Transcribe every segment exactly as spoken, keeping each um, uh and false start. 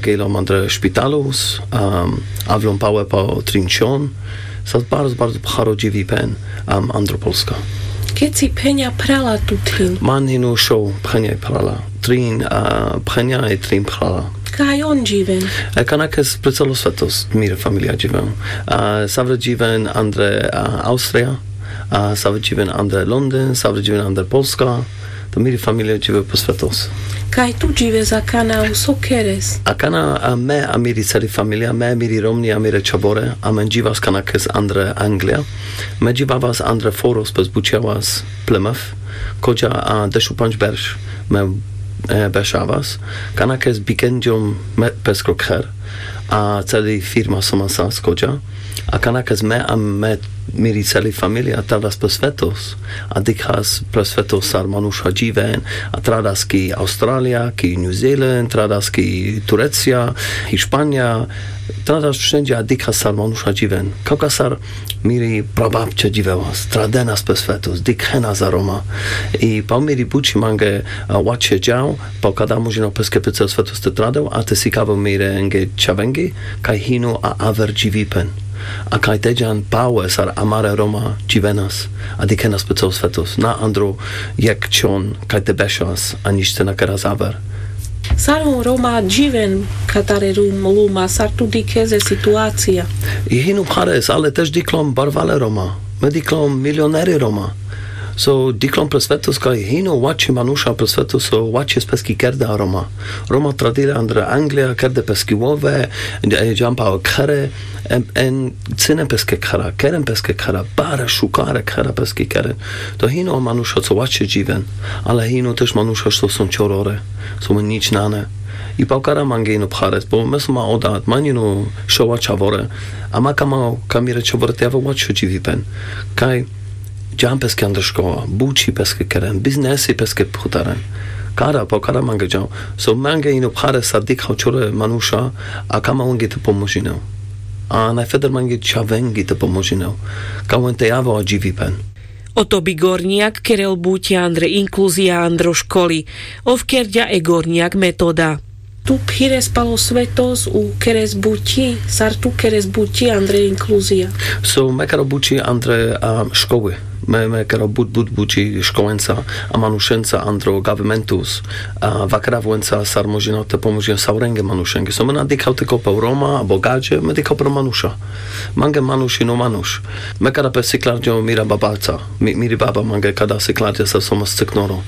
Kejlom andre špitalus, avlom pałe po trin čhon. Sas barzo barzo pcharo dživipen andro polska. Keci phenia phrala tu thin? Man hinu šo phenia i phrala. Trin phenia i trin phrala. Kaj on dživen? Kanakes pre celo svetos mire familia dživen. Savre dživen andre austrija, savre dživen andre londin, savre dživen andre polska. To miri familia džive pe svetos. Kaj tu džives akana u so keres? Akana me a miri celi familia, me a miri romni a mire čhavore, amen dživas kanakes andre anglija. Me dživavas andre foros pes bučjavas plemev. Kodža a dešupandž berš me bešavas. Kanakes bikenđom me peskro kher a celi firma so man sas kodža. Akana kes me a me miri celi familia tradas pe svetos, a dikhas pe svetos sar manuša dživen, a tradas ki australija, ki njuzelen, tradas ki turecija, hišpanija. Tradas šenđe a dikhas sar manuša dživen. Kavka sar miri prabapče dživevas, tradenas pe svetos, dikhenas a roma. I pa miri buči mange vačhe džav, pa kada mužino peske pe cel svetos te tradel a te sikavel mirenge čhavengi kaj hinu a aver dživipen. A kaj te džan pałe sar amare roma dživenas a dikhenas pe cel svetos, na andro jek čhon kaj te bešas a nič te na keras aver. Sar on roma dživen katare rum luma, sar tu dikhes e situacija? I hinu phares ale tež diklom barvale roma. Me diklom milioneri roma. So diklom pe svetos kaj hinu vačhe manuša pe svetos so vačhe speski kerda roma. Roma tradile andre anglija kerde peski vove, džan pa khere. En cine peske khera, keren peske khera, bare šukare khera peske keren. To hinu manuša so vačhe dživen. Ale hinu tež manuša so son čorore, so me nič nane. I pa kara mange hinu phares po me so ma odat ma hinu šova čhavore. Ama kama kamire čhavore te ave vačho dživipen. Kaj džan peske andre škola, buči peske keren, biznesi peske phutaren. Kara pa kara mange džan. So mange hinu phares sar dikha čore manuša. A kama ongi te pomožinel. A najfeder mange čhavengi te pomožinel. Kaj on te ave a dživipen. Oto bi gornjak kerel buči andre inkluzija andro školi. Ov kerďa e gornjak metoda. Tu phires palo svetos u keres buči, sar tu keres buči andre inkluzija? So me kero buči andre školi. Me me kero but but buči školenca a manušenca andro gavimentus. Vakeravuenca sar možina te pomožina saurenge manušenge. So me na dikhav te kopa u roma a bogače, me dikhav pro manuša. Mange manuš hinu manuš. Me kara pe siklarđo mira babaca. Miri baba mange kada siklarđa sar so ma sceknoro.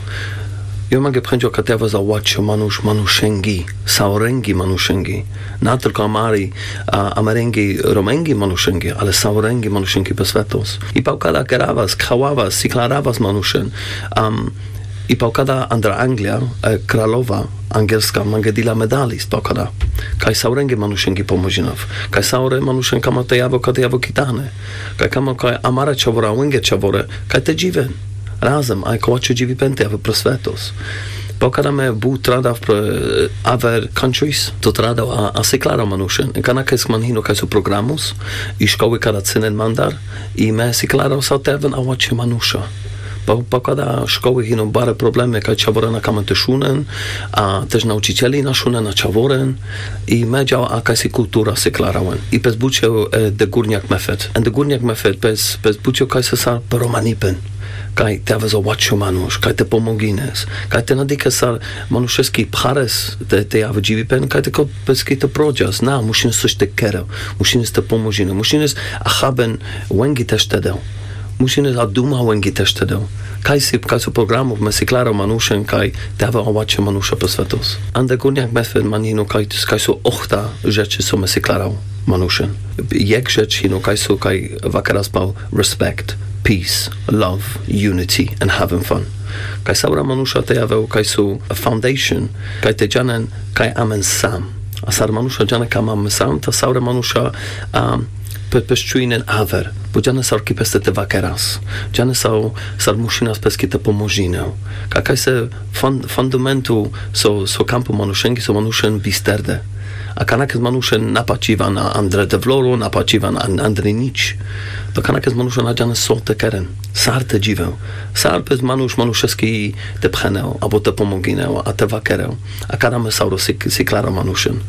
Jo mange phenđo kate ave za vačho manuš manušengi, saorengi manušengi. Na tolko amari, amarengi romengi manušengi, ale saorengi manušengi pe svetos. I pa kada keravas khavavas siklaravas manušen. I pa kada andra anglija, kralova angelska mange dila medalis pa kada. Kaj saurenge manušengi pomožinav. Kaj saure manušen kama te javo kate javo kitane. Kaj kama kaj amara čhavora uvenge čhavore kaj te dživen. Razem aj kovačho dživipen te jave pe svetos. Pa kada me but tradav pe aver kantšujs to tradav a siklarav manušen kanakes man hino kaj so programus. I školi kada cenen mandar i me siklarav sa te javen avačhe manuša. Pa kada školi hino bare probleme kaj čhavore na kamen te šunen. A tež na učiteljina šunen na čhavoren. I me džav a kaj si kultura siklarav len i pes bučev e degurnjak mefed en degurnjak mefed pes pes bučev kaj se sar pe romanipen. Kaj te jave za vačho manuš kaj te pomogines, kaj te na dikhes sar manušeski phares te jave dživipen kaj te ko peski te prođas na mušines soš te kerel. Mušines te pomožine mušines a haben. Vengi tešte del. Mušines a duma vengi tešte del. Kaj si kaj so programov me siklarav manušen kaj te jave vačho manuša pe svetos. Ande gurnjak mefed man hino kaj so ohta žeči so me siklarav manušen. Jek žeč hino kaj so kaj vakeras pal respekt, pis, lov, juniti and haven fan. Kaj saura manuša te jave kaj so faundejšen kaj te džanen kaj amen sam. A sar manuša džane kaj amen sam ta saura manuša peščujnen aver. Bo džane sar ki peste te vakeras. Džane sar mušinas peski te pomožinel. Kaj kaj se fundamentu so kampo manušengi so manušen bisterde. A kanakes manušen na pačivan andre devloro na pačivan andre nič. To kanakes manušen na džane so te keren. Sar te dživel. Sar pes manuš manušeski te phenel abo te pomoginel a te vakerel. A kada me sauro siklarav manušen.